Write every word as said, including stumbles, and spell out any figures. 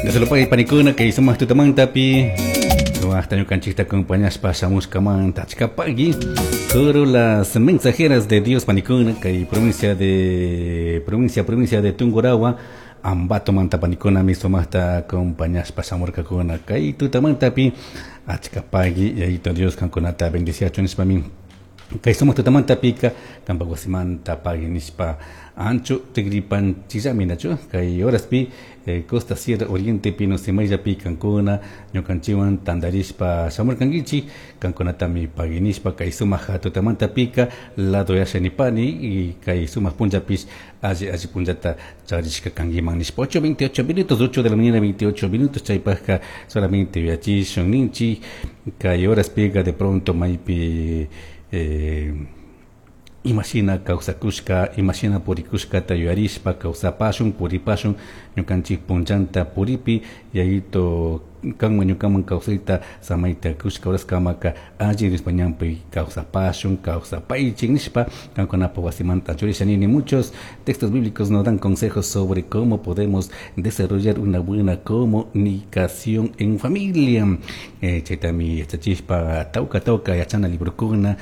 Dios panikuna kay sumaq tutamantapi sumaqta ñukanchikta acompañashpa shamushkamanta achkapaqui Coro las mensajeras de Dios panikuna kay provincia de provincia provincia de Tungurahua Ambato manta panikuna mi sumaqta acompañashpa shamurkakuna kay tutamantapi achkapaqui yayito Dios kankunata bendiciachun nishpami kay sumaq tutamantapika kampak wasimanta pagui nishpa ancho tigripanchillami nachu kay horaspi eh, Costa Sierra Oriente pino Semayllapi kankuna ñukanchikwan tantarishpa shamurkankichik kankunatami pagui nishpa kay sumaq tutamantapika lado yashanipani y kay sumaq punllapish alli alli punllata charishka kankiman nishpa ocho veintiocho minutos, ocho de la mañana veintiocho minutos. Chaypajka solamente yuyachishun ninchik kay horaspika de pronto maypi eh, imashina kawsakushka, imashina purikushkata yuyarishpa kawsapashun, puripashun ñukanchik punllanta puripi yayito kanman ñukaman kawsayta samayta kushka horaskamaka alli Diospa ñanpi kawsapashun, kawsapaychik nishpa kankunapa wasimanta churisha nini. Muchos textos bíblicos nos dan consejos sobre cómo podemos desarrollar una buena comunicación en familia. eh, chaytami yachachishpa tawka tawka yachana librokuna.